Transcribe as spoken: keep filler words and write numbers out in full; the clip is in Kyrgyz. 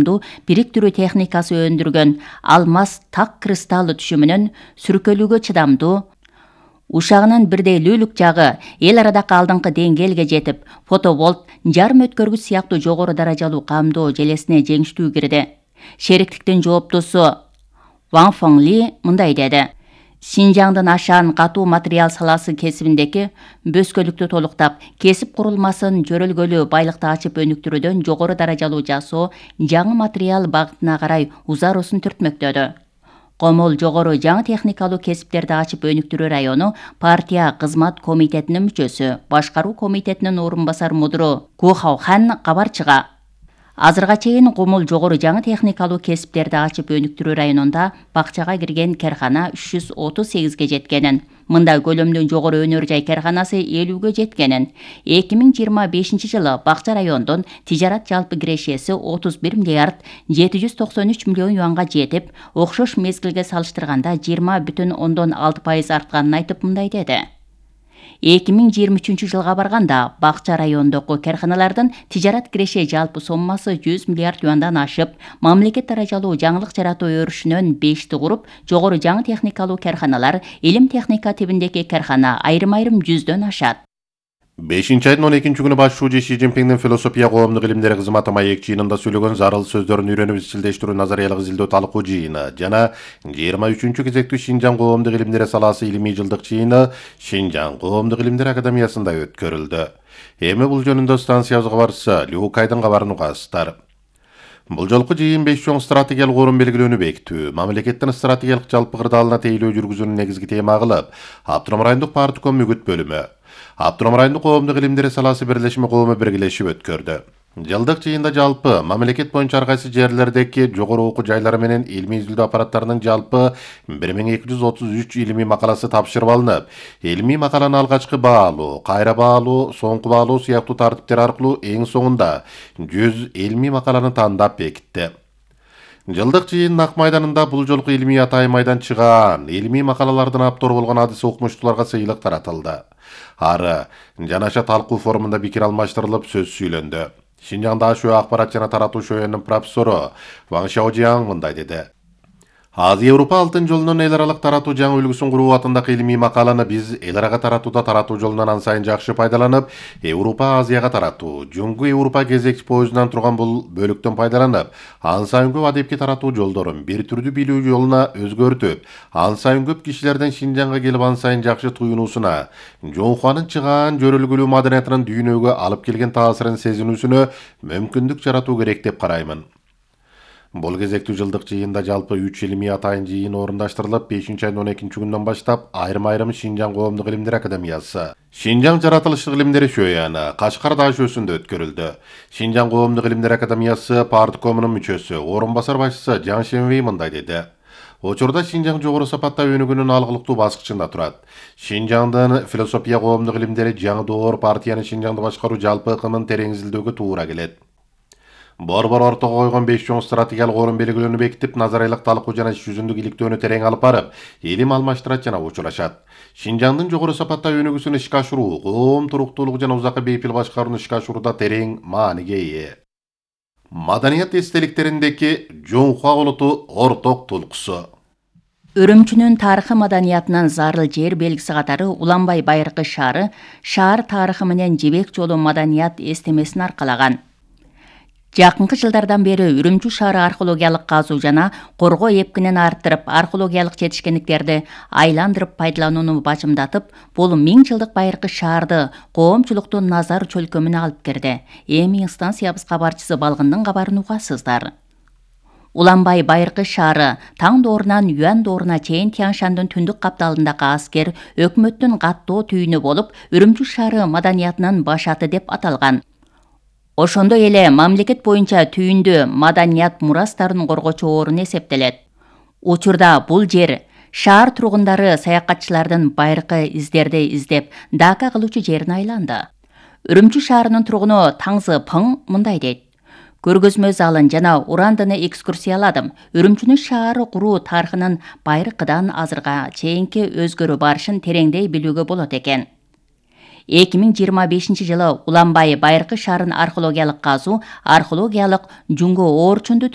бириктирүү техникасы өндүргөн алмаз так кристаллы түшүмүнөн сүркөлүүгө чыдамдуу, ушагынын бирдейлүүлүк жагы эл арадагы алдыңкы деңгээлге жетип, фотоволт, жарым өткөргүч сыяктуу жогору даражалуу камдоо желесине жеңиштүү кирди. Шериктиктин жооптусу Ван Фengли мындай деди: Шинжаңдын ашаан катуу материал саласы кесибиндеги бөскөлүктү толуктап, кесип курулмасын жөрөлгөлүү байлыкты ачып өнүктүрүүдөн жогору даражалуу жасоо жаңы материал багытына карай узароосун түртмөктөдү. Комол жогору жаңы техникалуу кесиптерди ачып өнүктүрүү району партия кызмат комитетинин мүчөсү, башкаруу комитетинин орун басар мудуру Ку Хаохан кабарчыга азырга чейин комол жогору жаңы техникалуу кесиптерди ачып өнүктүрүү районунда бакчага кирген кархана үч жүз отуз сегизге жеткенин, мындай көлөмдүү жогору өнөр жай карханасы элүүгө жеткенин, эки миң жыйырма бешинчи жылы бакча райондун тижарат жалпы кирешеси отуз бир миллиард жети жүз токсон үч миллион юанга жетип, окшош мезгилге салыштырганда жыйырма бүтүн ондон алты пайыз артканын айтып мындай деди: эки миң жыйырма үчүнчү жылга барганда бакча районундагы карханалардын тижарат киреше жалпы соммасы жүз миллиард юандан ашып, мамлекет даражалуу жаңылык жаратуу өрүшүнөн бешти куруп, жогору жаңы техникалуу карханалар, илим техника тибиндеги кархана айрым-айрым жүздөн ашат. бешинчи айдын он экинчи күнү башчы Ши Цзиньпиндин философия коомдук илимдери кызматы маек жыйынында сүйлөгөн зарыл сөздөрүн үйрөнүп изчилдештирүү назариялык изилдөө талкуу жыйыны жана жыйырма үчүнчү кезектүү Шинжаң коомдук илимдери саласы илимий жылдык жыйыны Шинжаң коомдук илимдер академиясында өткөрүлдү. Эми бул жөнүндө станциябыз кабарчысы Лю Кайдын кабарын угасыздар. Бул жолку жыйын беш чоң стратегиялык орун белгилөөнү бекитүү, мамлекеттин стратегиялык жалпы кырдаалына тейлөө жүргүзүүнү негизги тема кылып, Автоном райондук партком үгүт бөлүмү, Автоном райондук коомдук илимдери саласы бирлешме коому биргелешип өткөрдү. Жылдык жыйында жалпы мамлекет боюнча ар кайсы жерлердеги жогору окуу жайлары менен илимий изилдөө аппараттарынын жалпы бир миң эки жүз отуз үч илимий макаласы тапшырып алынып, илимий макаланы алгачкы баалуу, кайра баалуу, соңку баалуу сыяктуу тартиптер аркылуу эң соңунда жүз илимий макаланы тандап бекитти. Жылдык жыйындын ак майданында бул жолку илимий атайын майдан чыгаан, илимий макалалардын автору болгон адис окумуштууларга сыйлык таратылды. Ары жанаша талкуу форумунда пикир алмаштырылып сөз сүйлөндү. Шинжаңда ашөө акпарат жана таратуу шөөнүн профессору Ван Шаожияң мындай деди: Азия Европа алтын жолунун эл аралык таратуу жаңы үлгүсүн куруу атындагы илимий макаланы биз эл арага таратууда таратуу жолунан ан сайын жакшы пайдаланып, Европа Азияга таратуу, Жуңгу Европа кезекчи поездунан турган бул бөлүктөн пайдаланып, ан сайын көп адепки таратуу жолдорун бир түрдүү билүү жолуна өзгөртүп, ан сайын көп кишилерден Шинжаңга келип ан сайын жакшы туюнуусуна, Жоңхуанын чыгаан жөрөлгүлүү маданиятынын дүйнөгө алып келген таасирин сезинүүсүнө мүмкүндүк жаратуу керек деп караймын. Бул кезектүү жылдык жыйында жалпы үч илимий атайын жыйын орундаштырылып, бешинчи айдын он экинчи күнүнөн баштап айрым-айрым Шинжаң коомдук илимдер академиясы, Шинжаң жаратылыштык илимдери шөөнү Кашкарда ашөөсүндө өткөрүлдү. Шинжаң коомдук илимдер академиясы парткомунун мүчөсү, орун басар башчысы Жан Шенвей мындай деди: Учурда Шинжаң жогору сапатта өнүгүүнүн алгылыктуу баскычында турат. Шинжаңдын философия коомдук илимдери жаңы доор партиянын Шинжаңды башкаруу жалпы ыкымын терең изилдөөгө туура келет. Борбор ортого койгон беш чоң стратегиялык орун белгилөөнү бекитип, назариялык талкуу жана иш жүзүндүк иликтөөнү терең алып барып, илим алмаштырат жана учурашат. Шинжаңдын жогору сапатта өнүгүүсүн ишке ашыруу, коом туруктуулугу жана узакка бейпил башкарууну ишке ашырууда терең мааниге ээ. Маданият эстеликтериндеги Жоңхуа улуту орток тулкусу. Үрүмчүнүн тарыхы маданиятынын зарыл жер белгиси катары Уланбай байыркы шаары шаар тарыхы менен жибек жолу маданият эстемесин аркалаган. Жакынкы жылдардан бери Үрүмчү шаары археологиялык казуу жана коргоо эпкинин арттырып, археологиялык жетишкендиктерди айландырып пайдаланууну бажымдатып, бул миң жылдык байыркы шаарды коомчулуктун назар чөлкөмүнө алып кирди. Эми станциябыз кабарчысы Балгындын кабарын угасыздар. Уланбай байыркы шаары таң доорунан Юан дооруна чейин Тянь-Шандын түндүк капталындагы аскер өкмөттүн каттоо түйүнү болуп, Үрүмчү шаары маданиятынын башаты деп аталган. Ошондой эле мамлекет боюнча түйүндү маданият мурастарын коргоочу орун эсептелет. Учурда бул жер шаар тургундары саякатчылардын байыркы издерди издеп, дака кылуучу жерине айланды. Үрүмчү шаарынын тургуну Таңзы Пың мындай дейт: Көргөзмө залын жана урандыны экскурсияладым. Үрүмчүнүн шаары куруу тарыхынын байыркыдан азырга чейинки өзгөрүп барышын тереңдей билүүгө болот экен. эки миң жыйырма бешинчи жылы Уланбай байыркы шаарын археологиялык казуу, археологиялык Жуңгу Оорчунду